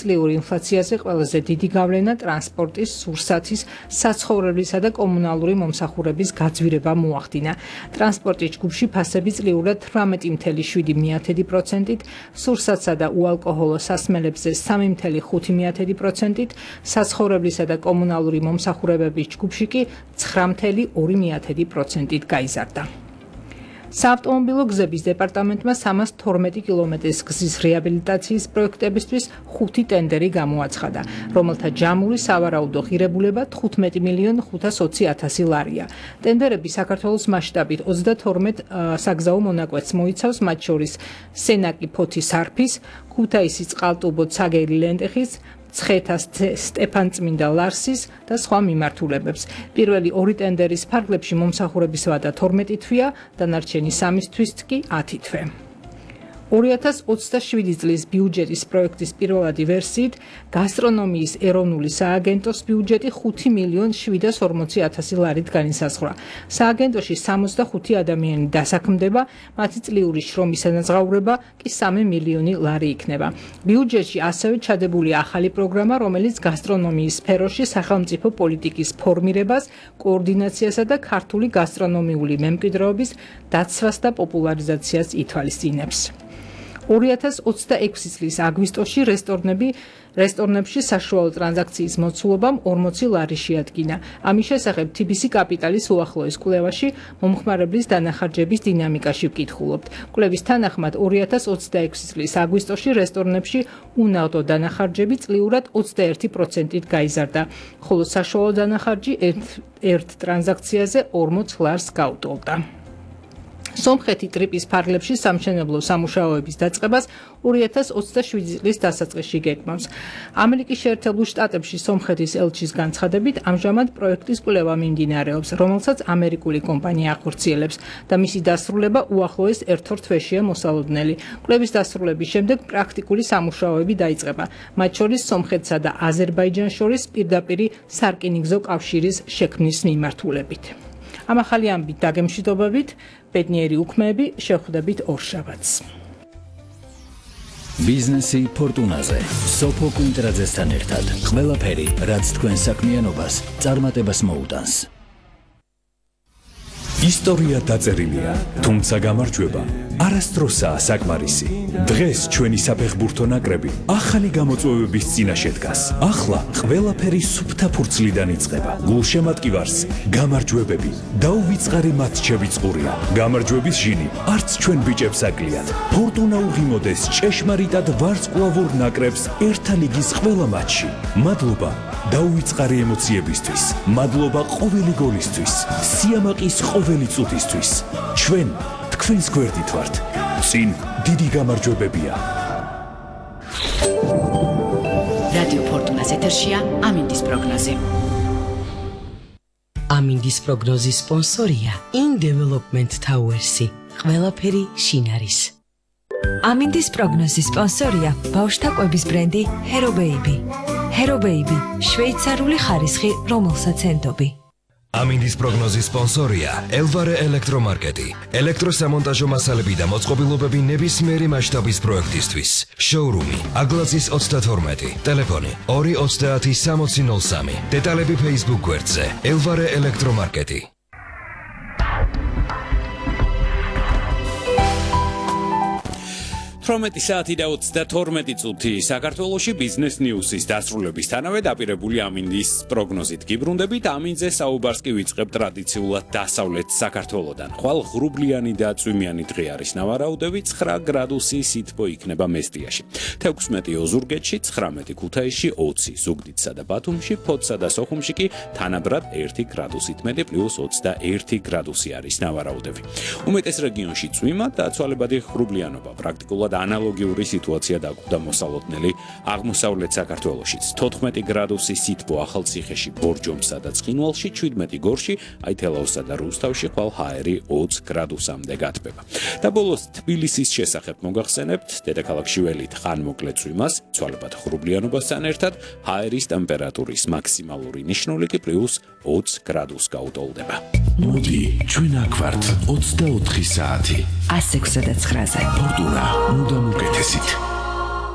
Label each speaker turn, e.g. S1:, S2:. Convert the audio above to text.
S1: წლიური ინფლაციაზე ყველაზე დიდი გავლენა ტრანსპორტის, სურსათის, საცხოვრებლისა და კომუნალური მომსახურების გაძვირება მოახდინა. ტრანსპორტის ჯგუფში ფასები წლიურად 18.7%-ით, სურსათსა და უალკოჰოლო სასმელებზე 3.5%-ით, საცხოვრებლისა და კომუნალური მომსახურებების ჯგუფში კი 9.2%-ით გაიზარდა. საავტომობილო გზების დეპარტამენტმა 312 კილომეტრის გზის რეაბილიტაციის პროექტებისთვის 5 ტენდერი გამოაცხადა, რომელთა ჯამური სავარაუდო ღირებულება 15.520.000 ლარია. ტენდერები საქართველოს მასშტაბით 32 საგზაო მონაკვეთს მოიცავს, მათ შორის სენაკი-ფოთი-სარფის, ქუთაისის წყალტუბო-ცაგერი ლენტეხის, ცხეთას სტეფანწმინდა ლარსის და სხვა მიმართულებებს. პირველი 2 ტენდერის ფარგლებში მომსახურების ვადა 12 თვეა, დანარჩენი 3 თვის კი 10 თვე. 2027 წლის ბიუჯეტის პროექტის პირველადი ვერსიით გასტრონომიის ეროვნული სააგენტოს ბიუჯეტი 5.740.000 ლარით განისაზღვრა. სააგენტოში 65 ადამიანი დასაქმდება, მათი წლიური შრომის სანაზღაურება კი 3 მილიონი ლარი იქნება. ბიუჯეტში ასევე ჩადებულია ახალი პროგრამა, რომელიც გასტრონომიის სფეროში სახელმწიფო პოლიტიკის ფორმირებას, კოორდინაციასა და ქართული გასტრონომიული მემკვიდრეობის დაცვას და პოპულარიზაციას ითვალისწინებს. 2026 წლის აგვისტოში რესტორნებში საშუალო ტრანზაქციის მოცულობამ 40 ლარი შეადგინა. ამის შესახებ TBC კაპიტალის უახლოეს კვლევაში მომხმარებლის დანახარჯების დინამიკაში ვკითხულობთ. კვლევის თანახმად 2026 წლის აგვისტოში რესტორნებში უნაღდო დანახარჯები წლიურად 21%-ით გაიზარდა, ხოლო საშუალო დანახარჯი ერთ ტრანზაქციაზე 40 ლარს გაუტოლდა. სომხეთი ტრიპის ფარგლებში სამშენებლო სამუშაოების დაწყებას 2027 წლის დასაწყისში გეგმავს. ამერიკის შეერთებულ შტატებში სომხეთის ელჩის განცხადებით, ამჟამად პროექტის კვლევა მიმდინარეობს, რომელსაც ამერიკული კომპანია ახორციელებს და მისი დასრულება უახლოეს 1-2 თვეშია მოსალოდნელი. კვლევის დასრულების შემდეგ პრაქტიკული სამუშაოები დაიწყება, მათ შორის სომხეთსა და აზერბაიჯანს შორის პირდაპირი სარკინიგზო კავშირის შექმნის მიმართულებით. ამ ახალი ამბით დაგემშვიდობებით, ბედნიერი უქმეები, შევხვდებით ორშაბათს.
S2: ბიზნესი ფორტუნაზე. სოფო კვინტრაძესთან ერთად. ყველაფერი, რაც თქვენ საქმიანობას წარმატებას მოუტანს.
S3: ისტორია დაწერილია, თუმცა გამარჯვება არასდროსაა საკმარისი. დღეს ჩვენი საფეხბურთო ნაკრები ახალი გამოწვევების წინაშე დგას. ახლა ყველაფერი სუფთა ფურცლიდან იწყება. გულშემატკივარს გამარჯვებები, დაუვიწყარი მატჩები წყურია. გამარჯვების ჟინი არც ჩვენ ბიჭებს აკლიათ. ფორტუნა უღიმოდეს ჭეშმარიტად ვარსკვლავურ ნაკრებს ერთა ლიგის ყველა მატჩში. მადლობა დაუვიწყარი ემოციებისთვის, მადლობა ყოველი გოლისთვის, სიამაყის ყოველი წუთისთვის. ჩვენ თქვენს გვერდით ვართ. წინ დიდი გამარჯვებებია.
S4: რადიო ფორტუნას ეთერშია ამინდის პროგნოზი. ამინდის პროგნოზის სპონსორია In-Development Towers-ი. ყველაფერი შინ არის.
S5: ამინდის პროგნოზის სპონსორია ბავშვთა კვების ბრენდი Hero Baby. Hero Baby, შვეიცარიული ხარისხი, რომელსაც ენდობი.
S6: ამინდის პროგნოზის სპონსორია ელვარე ელექტრომარკეტი. ელექტროსამონტაჟო მასალები და მოწყობილობები ნებისმიერი მასშტაბის პროექტისთვის. შოურუმი აგლაზის 32, ტელეფონი 230-6003. დეტალები Facebook გვერდზე ელვარე ელექტრომარკეტი.
S7: საათი და 32 წუთი საქართველოში ბიზნეს ნიუსის დასრულებისთანავე დაპირებული ამინდის პროგნოზით გიბრუნდებით. ამინძე საუბარს კი ვიწყებთ ტრადიციულად დასავლეთ საქართველოდან. ხვალ ღრუბლიანი და წვიმიანი დღე არის ნავარაუდები, 9 გრადუსი სითბო იქნება მესტიაში. 16 ოზურგეთში, 19 ქუთაისში, 20 ზუგდიდსა და ბათუმში, ფოთსა და სოხუმში კი თანაბრად 1 გრადუსით მეტი პლუს 21 გრადუსი არის ნავარაუდები. უმეტეს რეგიონში წვიმა და ცვალებადი ღრუბლიანობა, პრაქტიკულად ანალოგიური სიტუაცია დაგვდა მოსალოდნელი აღმოსავლეთ საქართველოშიც. 14 გრადუსი სითბო ახალციხეში, ბორჯომსა და ცხინვალში, 17 გორში, აითელაოსსა და რუსთავში, ხვალ ჰაერი 20 გრადუსამდე გათბება. და ბოლოს თბილისის შესახებ მოგახსენებთ, დედაქალაქში ველით ხანმოკლე წვიმას, ცვალებად ღრუბლიანობასთან ერთად ჰაერის ტემპერატურის მაქსიმალური ნიშნული კი პლუს 20 გრადუსს გაუტოლდება.
S3: მოდი, ჩვენ აქ ვართ 24 საათი.
S5: 106-ზე.
S3: ფორტუნა, მუდამ უკეთესით.